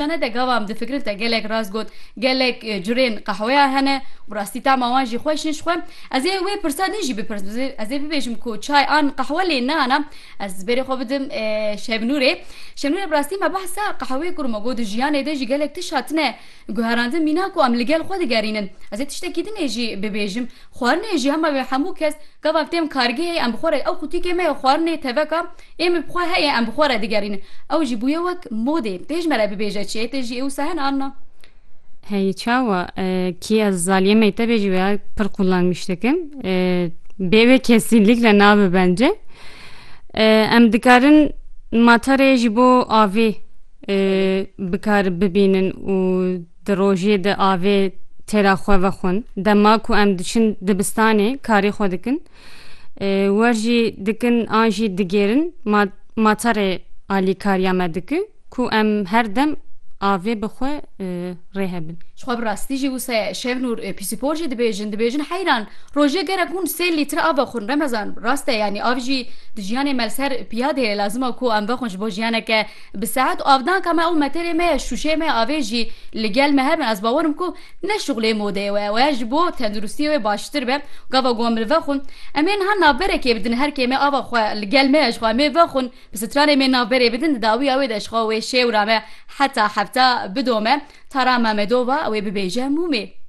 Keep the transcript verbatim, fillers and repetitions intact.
Şane de gava em difikirin te gelek rast got, gelek e, curên qehweya hene, bi rastî tema wan jî xweş in ji xwe. Ez ê wê pirsa din jî bipirsim, ez ê bibêjim ku çay an qehwe lê nana, ez berê xwe bidim e, Şevnûrê. Şevnûrê, bi rastî me behsa qehweyê kir, me got di jiyanê de jî gelek tişt hatine guherandin, mîna ku em li gel xwe digerînin. Ez ê tiştekî dinê jî bibêjim. Xwarinê jî hema wê hemû kes gava em têm kargehê em bi xwe re, ew qutîkê me ye xwarinê teveka, ê min bi xwe heye em bi xwe re digerînin. Ew jî bûye wek modê. Tê ji me re bibêje çi ye? Tê jî ê wisa hene an na? Hey çawa, e, kî ez zaliyê mektebê jî veya pir kullanmış dikim. E, bê wê kesinlikle nabe bence. E, em dikarin matarê ji bo avê, e, bikar bibînin û di rojê de avê têra xwe vexwin. Dema ku em diçin dibistanê karê xwe dikin, e, wer jî dikin an jî digêrin ma-, matarê alîkariya me dike ku em her dem avê bi xwe, e, rê hebin. Ji xwe bi rastî jî wisa ye. Şevnûr, e, pîsîpor jî dibêjin, dibêjin heyran. Rojê gerek hûn sê lître av vexwin. Remezan, rast e, yanî av jî di jiyanê me li ser piya dihêle, lazim e ku em vexwin ji bo jiyaneke bi sehet. Û avdanka me ew meterê me ye, şûşeyê me ye, avê jî li gel me hebin. Ez bawerim ku ne şixulê modeyê we, we ji bo tenduristiyê wê baştir be. Gava ku em li vexwin, em ê niha navberekê bidin, her kê me ava xwe li gel me ye, ji xwe em ê vexwin, bi stranê me navberê bidin, di dawiya wê de ji xwe wê şêwra me heta hefta bidome. Tara Mamedova, ew ê bibêje Mûmê.